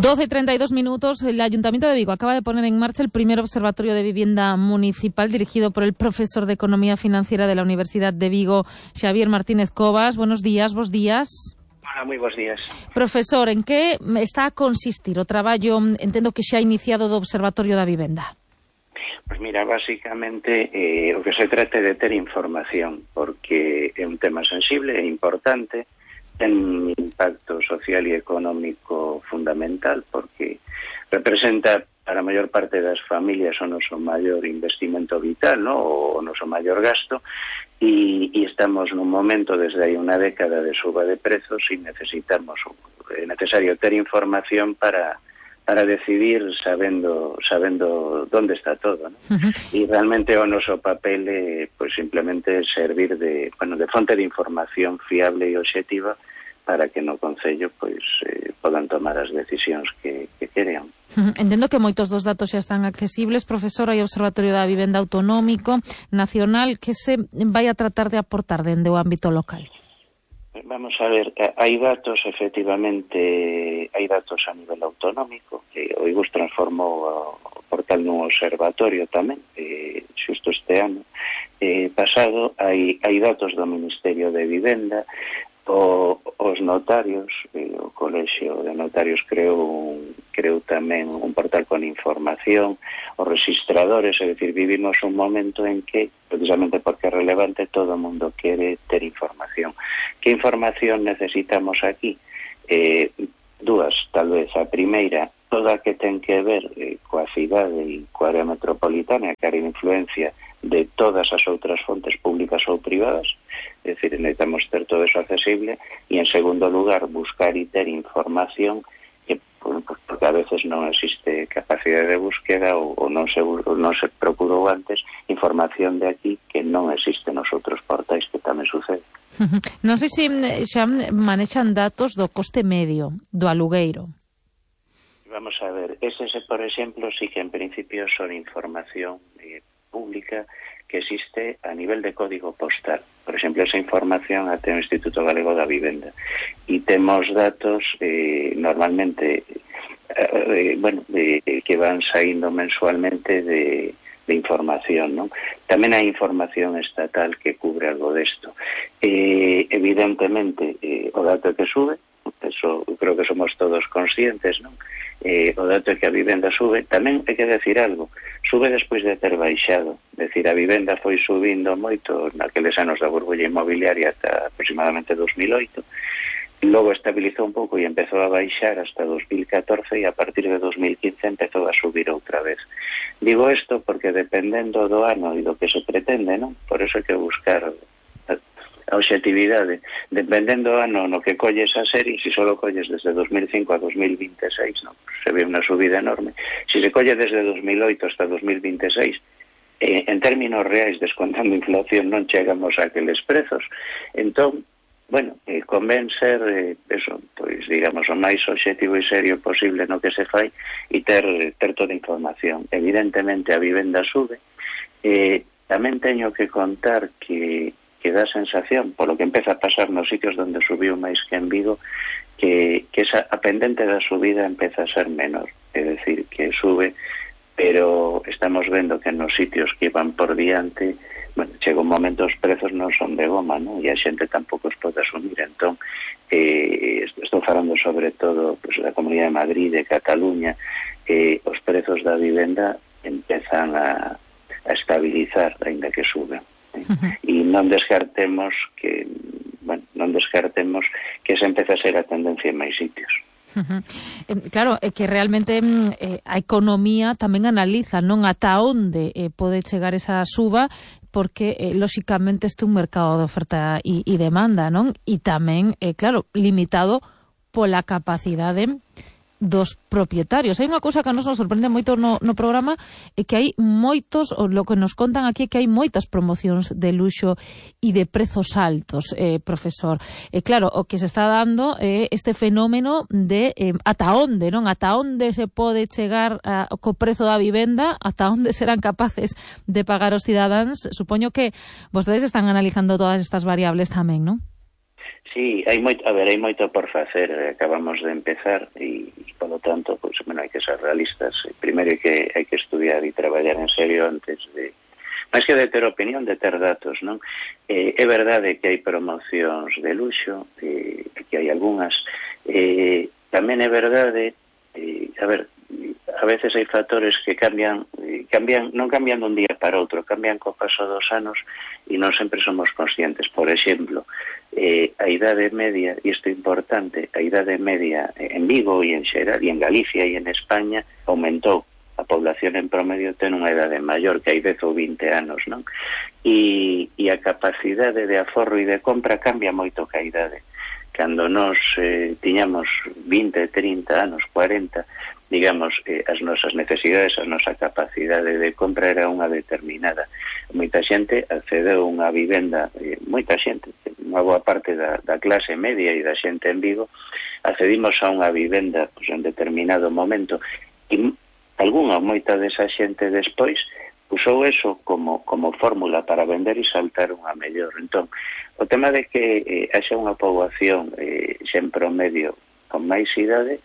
12:32. El Ayuntamiento de Vigo acaba de poner en marcha el primer observatorio de vivienda municipal dirigido por el profesor de Economía Financiera de la Universidad de Vigo, Xavier Martínez Cobas. Buenos días, bos días. Hola, moi bons días. Profesor, en que está a consistir o traballo, entendo que xa iniciado, do Observatorio da Vivenda? Pois mira, basicamente o que se trata é de ter información, porque é un tema sensible e importante, ten un impacto social e económico fundamental, porque representa para a maior parte das familias o noso maior investimento vital, ¿no? O noso maior gasto, e estamos nun momento desde hai unha década de suba de prezos e necesitamos, é necesario ter información para decidir sabendo onde está todo, ¿no? E realmente o noso papel é pues, simplemente servir de fonte de información fiable e obxectiva para que no Concello pois podan tomar as decisións que querean. Entendo que moitos dos datos xa están accesibles. Profesor, hai Observatorio da Vivenda Autonómico Nacional, que se vai a tratar de aportar dende o ámbito local? Vamos a ver, hai datos, efectivamente, hai datos a nivel autonómico, que o IGUS transformou o portal nun observatorio tamén, xusto este ano pasado. Hai datos do Ministerio de Vivenda, os notarios, o Colexio de Notarios creou tamén un portal con información, os registradores, é dicir, vivimos un momento en que, precisamente porque é relevante, todo o mundo quere ter información. Que información necesitamos aquí? Dúas, tal vez. A primeira, toda que ten que ver coa cidade e coa área metropolitana, que área de influencia de todas as outras fontes públicas ou privadas, é dicir, necesitamos ter todo eso accesible, e en segundo lugar, buscar e ter información que, porque a veces non existe capacidade de búsqueda ou non se procurou antes información de aquí que non existe nos outros portais, que tamén sucede. Non sei se xa manexan datos do coste medio do alugueiro. Vamos a ver, ese, por exemplo, sí que en principio son información pública que existe a nivel de código postal. Por exemplo, esa información a ten o Instituto Galego da Vivenda. E temos datos normalmente que van saindo mensualmente de información, ¿no? Tamén hai información estatal que cubre algo desto. Evidentemente, o dato que sube, eso creo que somos todos conscientes, ¿no? O dato é que a vivenda sube. Tamén hai que decir algo, sube despois de ter baixado, decir, a vivenda foi subindo moito naqueles anos da burbulla inmobiliaria ata aproximadamente 2008, logo estabilizou un pouco e empezou a baixar hasta 2014, e a partir de 2015 empezou a subir outra vez. Digo isto porque dependendo do ano e do que se pretende, ¿no? Por eso hai que buscar a obxectividade, dependendo do ano no que colles a serie. Se solo colles desde 2005 a 2026, no, se ve unha subida enorme. Se se colle desde 2008 hasta 2026, en términos reais, descontando inflación, non chegamos a aqueles prezos. Entón, bueno, convén ser eso, pois digamos, o máis obxectivo e serio posible no que se fai e ter toda a información. Evidentemente a vivenda sube. Tamén teño que contar que dá sensación, polo que empeza a pasar nos sitios onde subiu máis que en Vigo, que a pendente da subida empeza a ser menor, é dicir, que sube, pero estamos vendo que nos sitios que van por diante, bueno, chega un momento os prezos non son de goma, ¿no? E a xente tampouco os pode asumir. Entón, estou falando sobre todo pues, da Comunidade de Madrid, de Cataluña, os prezos da vivenda empezan a estabilizar, aínda que suben. E non descartemos que esa empeza a ser a tendencia en máis sitios. Claro, é que realmente a economía tamén analiza non ata onde pode chegar esa suba, porque lóxicamente este é un mercado de oferta e demanda, non? E tamén, claro, limitado pola capacidade dos propietarios. Hai unha cousa que a nos sorprende moito no programa, é que hai moitos, o lo que nos contan aquí, é que hai moitas promocións de luxo e de prezos altos, profesor. Claro, o que se está dando é este fenómeno de ata onde, non? Ata onde se pode chegar co prezo da vivenda, ata onde serán capaces de pagar os cidadáns. Supoño que vostedes están analizando todas estas variables tamén, non? Sí, hai moito por facer, acabamos de empezar e polo tanto, pois, hai que ser realistas. Primeiro hai que estudiar e traballar en serio antes de... máis que de ter opinión, de ter datos, non? É verdade que hai promocións de luxo, que hai algunhas. Tamén é verdade, a veces hai factores que cambian, non cambian dun día para outro, cambian co paso dos anos e non sempre somos conscientes. Por exemplo, a idade media, e isto é importante, a idade media en Vigo e en xeral, e en Galicia e en España aumentou. A población en promedio ten unha idade maior, que hai 10 ou 20 anos, non? E a capacidade de aforro e de compra cambia moito ca idade. Cando nos tiñamos 20, 30 anos, 40, digamos, as nosas necesidades, a nosa capacidade de compra era unha determinada. Moita xente accedeu a unha vivenda, moita xente, unha boa parte da clase media e da xente en Vigo, accedimos a unha vivenda pues, en determinado momento, e algunha moita desa xente despois usou eso como fórmula para vender e saltar unha mellor. Entón, o tema de que haxa unha poboación sen promedio con máis idade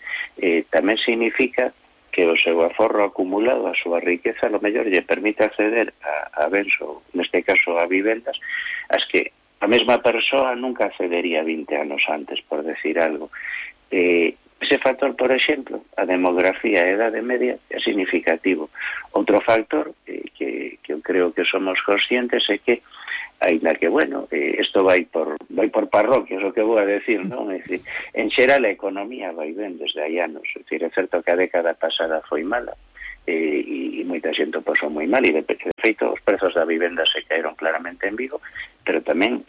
tamén significa que o seu aforro acumulado, a súa riqueza, a lo mellor lle permite acceder a bens, ou neste caso a vivendas, as que a mesma persoa nunca accedería 20 anos antes, por decir algo. Ese factor, por exemplo, a demografía e a edade media é significativo. Outro factor que eu creo que somos conscientes é que, aínda que, isto vai por parroquias, o que vou a decir, non? É dicir, en xeral a economía vai ben desde hai anos. É dicir, é certo que a década pasada foi mala, e moita xente o pasou moi mal, e de feito os prezos da vivenda se caeron claramente en Vigo, pero tamén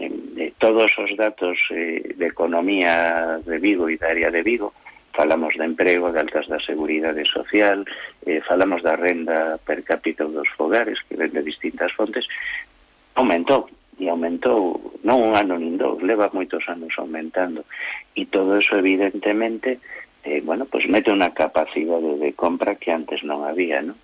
todos os datos de economía de Vigo e da área de Vigo, falamos de emprego, de altas da seguridade social, falamos da renda per cápita dos fogares, que ven de distintas fontes, aumentou non un ano nin dous, leva moitos anos aumentando, e todo eso evidentemente pues mete unha capacidade de compra que antes non había, non?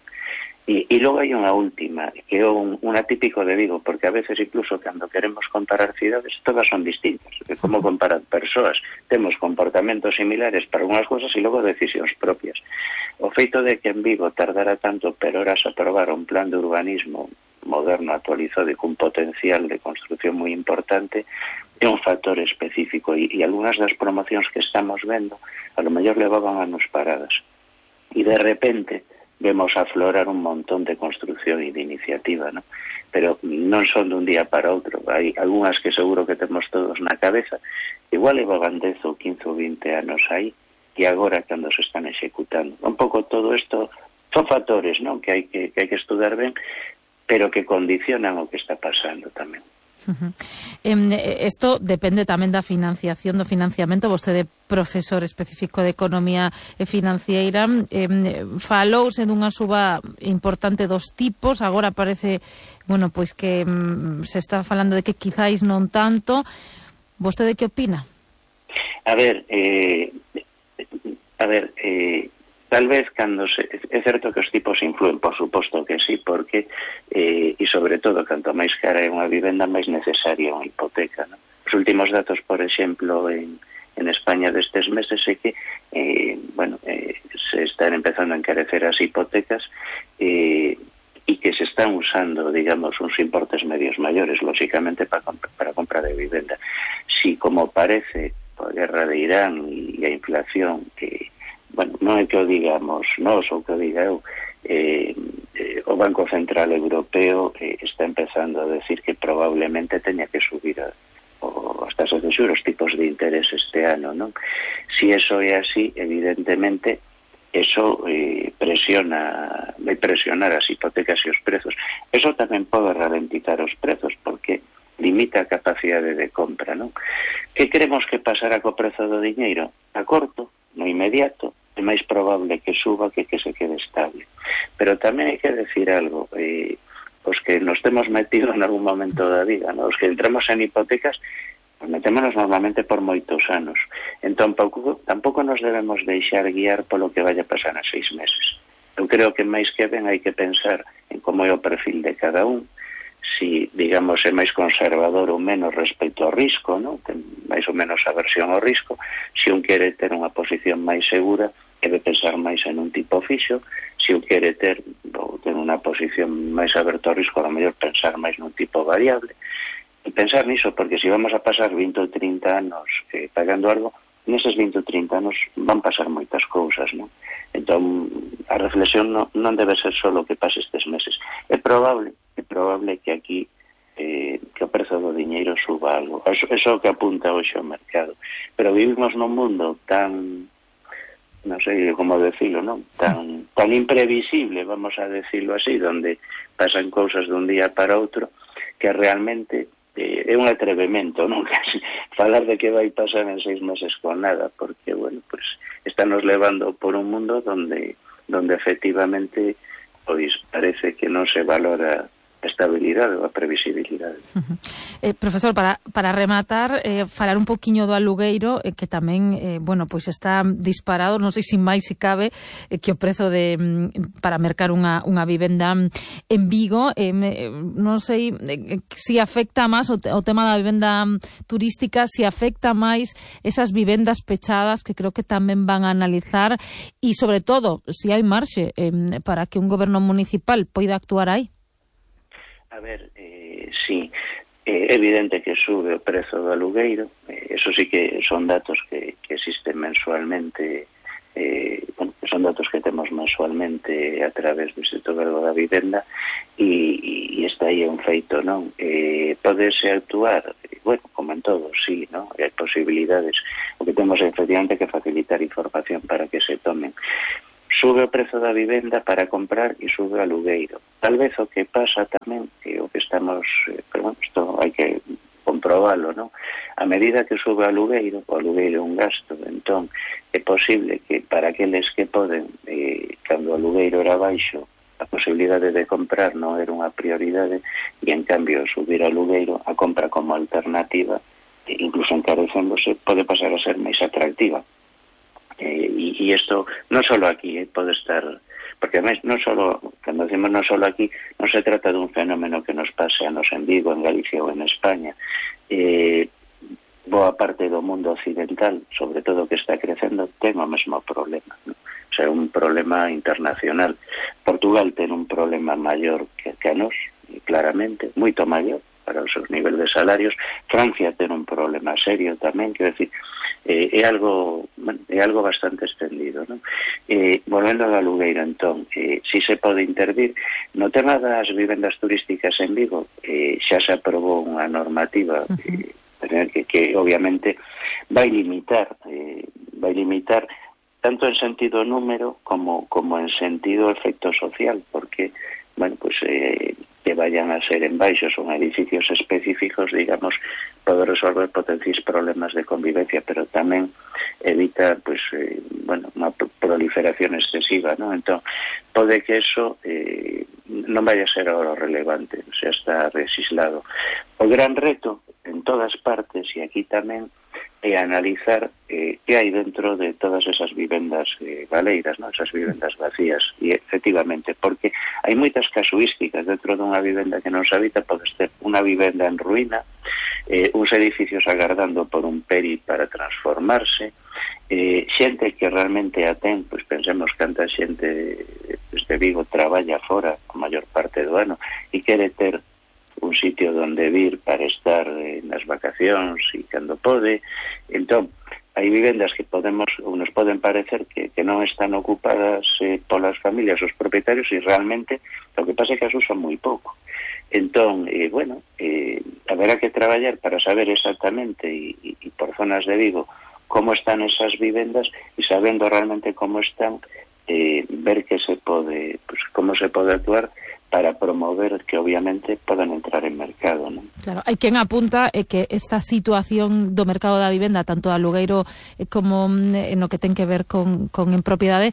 E logo hai unha última, que é un atípico de Vigo, porque a veces incluso cando queremos comparar cidades, todas son distintas. Como comparar persoas? Temos comportamentos similares para unhas cousas e logo decisións propias. O feito de que en Vigo tardara tanto per horas a aprobar un plan de urbanismo moderno, actualizado e cun potencial de construcción moi importante é un factor específico, e algunhas das promocións que estamos vendo a lo mellor levaban anos paradas, e de repente vemos aflorar un montón de construcción e de iniciativa, ¿no? Pero non son dun día para outro. Hai algunhas que seguro que temos todos na cabeza, igual levaban 10 ou 15 ou 20 anos aí, e agora cando se están executando. Un pouco todo isto son factores, non? Que hai que estudar ben, pero que condicionan o que está pasando tamén. Isto depende tamén da financiación, do financiamento. Vostede, profesor específico de Economía Financiera, falouse dunha suba importante dos tipos. Agora parece, pois que se está falando de que quizáis non tanto. Vostede que opina? Tal vez cando é certo que os tipos influen, por suposto que sí, porque e sobre todo, canto máis cara é unha vivenda, máis necesaria unha hipoteca, ¿no? Os últimos datos, por exemplo, en España destes meses é que se están empezando a encarecer as hipotecas e que se están usando, digamos, uns importes medios maiores, lógicamente, para compra de vivenda. Si, como parece, a guerra de Irán e a inflación que non é que o digamos nós ou que o diga eu, o Banco Central Europeo está empezando a decir que probablemente teña que subir as tasas de xuros, os tipos de interés este ano, non? Si eso é así, evidentemente eso vai presionar as hipotecas e os prezos. Eso tamén pode ralentizar os prezos, porque limita a capacidade de compra, non? Que queremos que pasará co prezo do diñeiro? A corto, no inmediato, é máis probable que suba que se quede estable. Pero tamén hai que decir algo, os que nos temos metido en algún momento da vida, ¿no? Os que entramos en hipotecas, nos metémonos normalmente por moitos anos. Entón, tampouco nos debemos deixar guiar polo que vaya a pasar a 6 meses. Eu creo que máis que ben hai que pensar en como é o perfil de cada un, si, digamos, é máis conservador ou menos respecto ao risco, ¿no? Ten máis ou menos aversión ao risco. Si un quere ter unha posición máis segura, debe pensar máis en un tipo fixo, se o quere ter ou ten unha posición máis aberta ao risco, a mellor pensar máis nun tipo variable, e pensar niso, porque se vamos a pasar 20 ou 30 anos pagando algo, neses 20 ou 30 anos van pasar moitas cousas, non? Entón, a reflexión non debe ser só o que pase estes meses. É probable que aquí que o prezo do diñeiro suba algo. Eso que apunta hoxe ao mercado. Pero vivimos nun mundo tan, non sei como decirlo, non? Tan imprevisible, vamos a decirlo así, donde pasan cousas dun día para outro, que realmente é un atrevemento, non? Casi falar de que vai pasar en 6 meses con nada, porque, bueno, pues estános levando por un mundo donde efectivamente pois parece que non se valora a estabilidade ou a previsibilidade. Profesor, para rematar, falar un poquinho do alugueiro, que tamén, bueno, pois está disparado, non sei se máis se cabe, que o prezo para mercar unha vivenda en Vigo, non sei se afecta máis o tema da vivenda turística, se afecta máis esas vivendas pechadas, que creo que tamén van a analizar, e sobre todo, se hai marxe para que un goberno municipal poida actuar aí. A ver, sí, é evidente que sube o prezo do alugueiro, eso sí que son datos que existen mensualmente, bueno, son datos que temos mensualmente a través do Instituto Galego da Vivenda, e está aí un feito, non? Podese actuar, bueno, como en todo, sí, non? Hai posibilidades, o que temos é efectivamente que facilitar información para que se tomen. Sube o prezo da vivenda para comprar e sube o alugueiro. Tal vez o que pasa tamén, o que estamos, pero bueno, isto hai que comprobalo, non? A medida que sube o alugueiro é un gasto, entón é posible que para aqueles que poden, cando o alugueiro era baixo, a posibilidade de comprar non era unha prioridade, e en cambio subir o alugueiro, a compra como alternativa, incluso encarecéndose, pode pasar a ser máis atractiva. E isto non só aquí, pode estar, porque además non só, cando decimos non só aquí, non se trata dun fenómeno que nos pase a nos en Vigo, en Galicia ou en España. Boa parte do mundo occidental, sobre todo que está crecendo, ten o mesmo problema, non? O sea, un problema internacional. Portugal ten un problema maior que a nos, claramente, moito maior para os seus niveis de salarios. Francia ten un problema serio tamén, quero decir, é algo bastante extendido, non? Volvendo ao alugueiro, entón, si se pode intervir no tema das vivendas turísticas en Vigo, xa se aprobou unha normativa que obviamente vai limitar tanto en sentido número como en sentido efecto social, porque, bueno, pues que vayan a ser en baixos ou en edificios específicos, digamos, pode resolver potenciais problemas de convivencia, pero tamén evita, pues, bueno, unha proliferación excesiva, ¿no? Entón, pode que eso non vaya a ser ahora relevante, o sea, está resislado. O gran reto, en todas partes, e aquí tamén, é analizar que hai dentro de todas esas vivendas baleiras, ¿no? Esas vivendas vacías, e efectivamente, porque hai moitas casuísticas dentro dunha vivenda que non se habita. Pode ter unha vivenda en ruína, uns edificios agardando por un peri para transformarse, xente que realmente a ten, pois pensemos canta xente de Vigo traballa fora a maior parte do ano e quere ter un sitio donde vir para estar nas vacacións e cando pode. Entón, hai vivendas que nos poden parecer que non están ocupadas polas familias, os propietarios, e realmente o que pasa é que as usan moi pouco. Entón, bueno, haberá que traballar para saber exactamente e por zonas de Vigo como están esas vivendas, e sabendo realmente como están, ver que se pode, pues, como se pode actuar para promover que obviamente podan entrar en mercado, non? Claro, hai quen apunta que esta situación do mercado da vivenda, tanto alugueiro como no que ten que ver con en propiedade,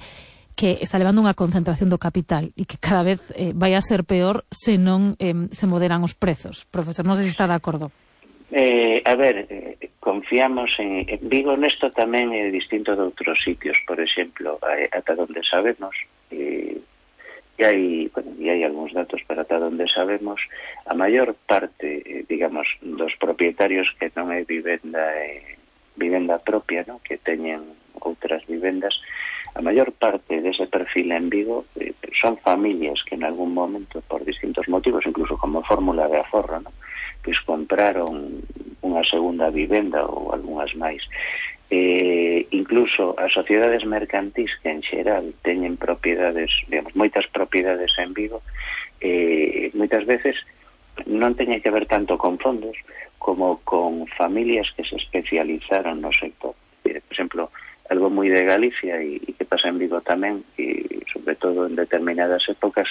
que está levando unha concentración do capital e que cada vez vai a ser peor se non se moderan os prezos. Profesor, non sei se está de acordo. A ver, confiamos en Vigo. Nesto tamén é distinto de outros sitios, por exemplo, ata donde sabemos, e hai algúns datos, pero ata donde sabemos, a maior parte, digamos, dos propietarios que non é vivenda propia, ¿no? Que teñen outras vivendas, a maior parte dese perfil en Vigo son familias que en algún momento, por distintos motivos, incluso como fórmula de aforro, ¿no?, pois compraron unha segunda vivenda ou algunhas máis. Incluso as sociedades mercantís que en xeral teñen propiedades, digamos, moitas propiedades en Vigo, moitas veces non teñen que ver tanto con fondos como con familias que se especializaron no sector. Por exemplo, algo moi de Galicia e que pasa en Vigo tamén, e sobre todo en determinadas épocas,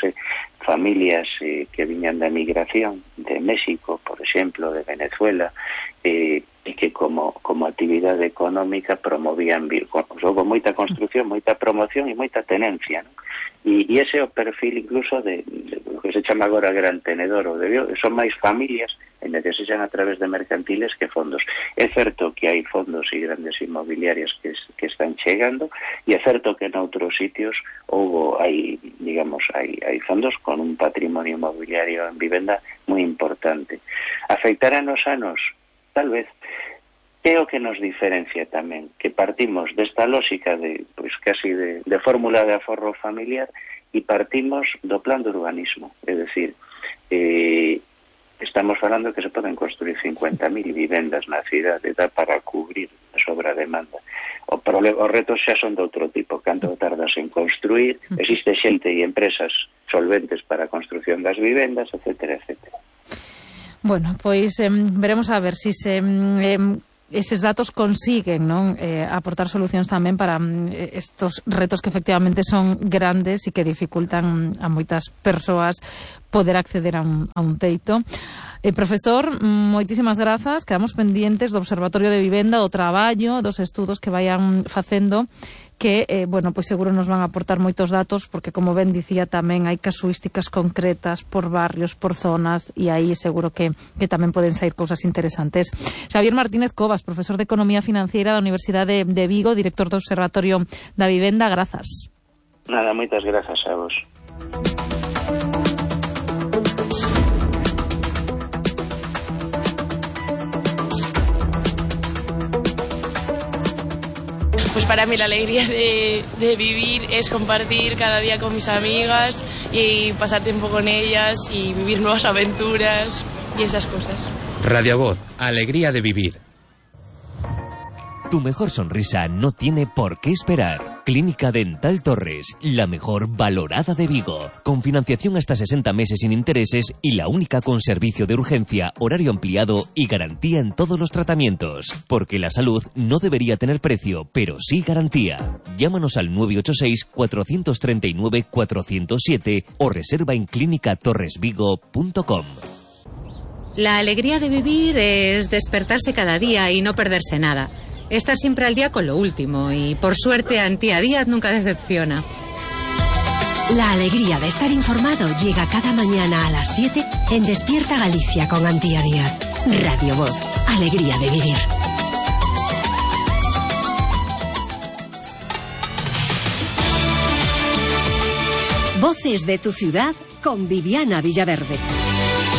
familias que viñan da migración de México, por exemplo, de Venezuela, e que como actividade económica promovían Vigo. Houve moita construción, moita promoción e moita tenencia, ¿no? E ese é o perfil incluso de lo que se chama agora gran tenedor ou de Vigo, son máis familias en que se xan a través de mercantiles que fondos. É certo que hai fondos e grandes inmobiliarias que están chegando, e é certo que en outros sitios hai fondos con un patrimonio inmobiliario en vivenda moi importante. Afectará nos anos? Tal vez. É o que nos diferencia tamén, que partimos desta lógica de, pois, casi de fórmula de aforro familiar, e partimos do plan de urbanismo. É dicir, estamos falando que se poden construir 50.000 vivendas na cidade, dá para cubrir a sobrademanda. Os retos xa son de outro tipo. Canto tardas en construir, existe xente e empresas solventes para a construción das vivendas, etcétera, etcétera. Bueno, pois veremos a ver se eses datos consiguen, non, aportar solucións tamén para estos retos que efectivamente son grandes e que dificultan a moitas persoas poder acceder a un teito. Profesor, moitísimas grazas. Quedamos pendientes do Observatorio de Vivenda, do traballo, dos estudos que vayan facendo, que, pois seguro nos van a aportar moitos datos, porque, como ben dicía, tamén hai casuísticas concretas por barrios, por zonas, e aí seguro que tamén poden sair cousas interesantes. Xavier Martínez Covas, profesor de Economía Financiera da Universidade de Vigo, director do Observatorio da Vivenda, grazas. Nada, moitas grazas a vos. Pues para mí la alegría de vivir es compartir cada día con mis amigas y pasar tiempo con ellas y vivir nuevas aventuras y esas cosas. Radio Voz, alegría de vivir. Tu mejor sonrisa no tiene por qué esperar. Clínica Dental Torres, la mejor valorada de Vigo. Con financiación hasta 60 meses sin intereses y la única con servicio de urgencia, horario ampliado y garantía en todos los tratamientos. Porque la salud no debería tener precio, pero sí garantía. Llámanos al 986-439-407 o reserva en clinicatorresvigo.com. La alegría de vivir es despertarse cada día y no perderse nada. Estar siempre al día con lo último y, por suerte, Antía Díaz nunca decepciona. La alegría de estar informado llega cada mañana a las 7 en Despierta Galicia con Antía Díaz. Radio Voz, alegría de vivir. Voces de tu ciudad con Viviana Villaverde.